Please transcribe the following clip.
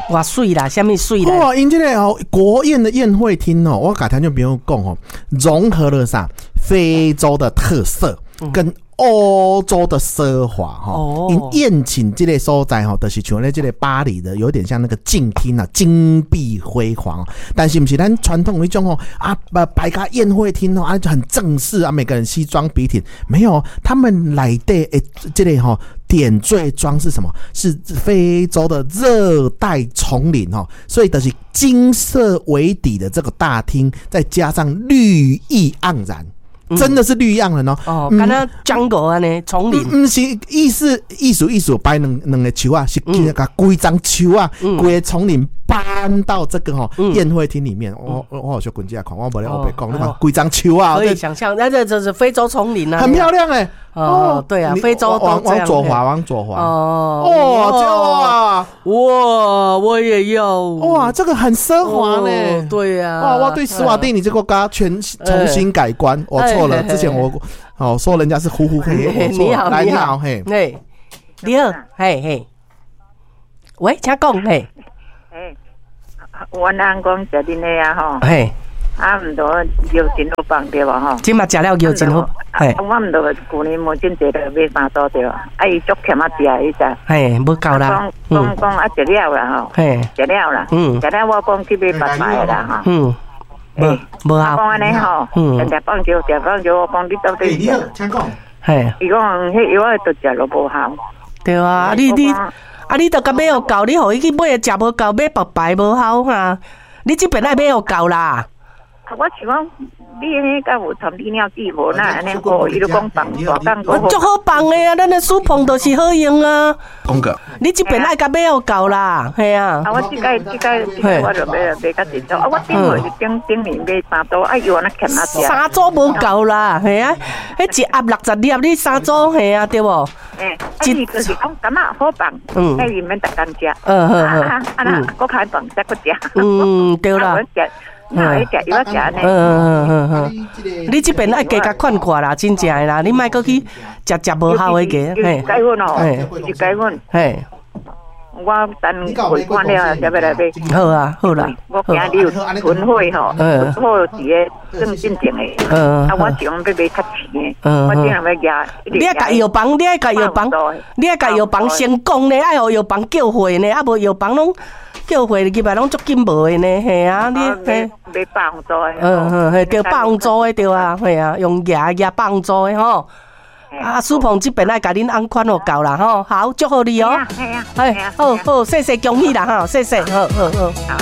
偌媠啦，啥物媠啦？哇，𪜶這个哦，國宴的宴會廳哦，我共聽眾朋友講哦，融合了啥非洲的特色跟歐洲的奢華吼。𪜶宴請這个所在吼，就是像咧這个巴黎的，有點像那個鏡廳啊，金碧輝煌。但是毋是咱傳統彼種吼啊，擺個宴會廳哦啊，很正式啊，每個人西裝筆挺。沒有，他們內底欸，這个吼點綴裝是什麼？是非洲的熱帶叢林哦，所以就是金色為底的這個大廳，再加上綠意盎然。真的是綠意盎然哦！哦，敢若 jungle 按呢，叢林。毋是意思意思意思擺兩個樹仔，是共規叢樹仔，規个叢林搬到這個吼宴會廳裡面。我有小滾進來看，我無咧烏白講，你看規叢樹仔。可以想象，那這就是非洲叢林啊，很漂亮欸。哦，對啊，非洲都往左滑，往左滑。哦，哇，哇，我也要。哇，這個很奢華呢。對呀。哇，我對史瓦帝尼這個國家全重新改觀，我錯了。之前我哦說人家是呼呼黑，我錯了。來，你好，嘿，嘿，你好，嘿嘿，喂，請講，嘿。哎，我翁講食恁的啊吼。嘿。啊，毋著藥真好放對無吼？這馬食了藥真好。嘿。我毋著舊年門診坐了買三組對無？啊，伊足欠仔食彼隻。嘿，無夠啦。講講啊，食了啦吼。嘿。食了啦。食了我講去買別牌啦吼。無無效。講按呢吼。食放藥，食放藥，我講你到底？你好，請講。嘿。伊講彼藥仔都食落無效。對啊，你啊，你著共買予夠，你予伊去買食無夠，買別牌無效哈。你這邊愛買予夠啦。我想講，你彼敢有掺利尿劑無？哪按呢好？伊就講放大工。我足好放的啊，咱的舒膨就是好用啊。講個，你這邊愛共買予夠啦，嘿啊。啊，我這擺這擺我就買買較濟組。啊，我頂月是頂頂年買三組，啊，伊話若欠仔食。三組無夠啦，嘿啊，彼一盒60粒，你三組嘿啊，對無？欸，啊，伊就是講感覺好放，啊，伊毋免逐工食。啊啊，那閣較放才閣食。嗯，對啦。你這邊愛加共勸看啦，真正的啦，你莫閣去食食無效的個，嘿。钙粉哦，是钙粉。嘿。我等回看了，才欲來買。好啊，好啦。我驚你有囤貨吼，囤貨佇个算進前的。啊，我想欲買較錢的。我頂下欲舉。你愛共藥房，你愛共藥房，你愛共藥房先講呢，愛予藥房叫貨呢，啊無藥房攏叫貨入來攏足緊無的呢，嘿啊，你嘿。買百紅組的。嗯，嘿，對，百紅組的對啊，嘿啊，用舉舉百紅組的吼。啊，舒鵬這邊愛共恁翁款予夠啦吼，好，祝福你哦。哎，好好，謝謝恭喜啦哈，謝謝，好好好。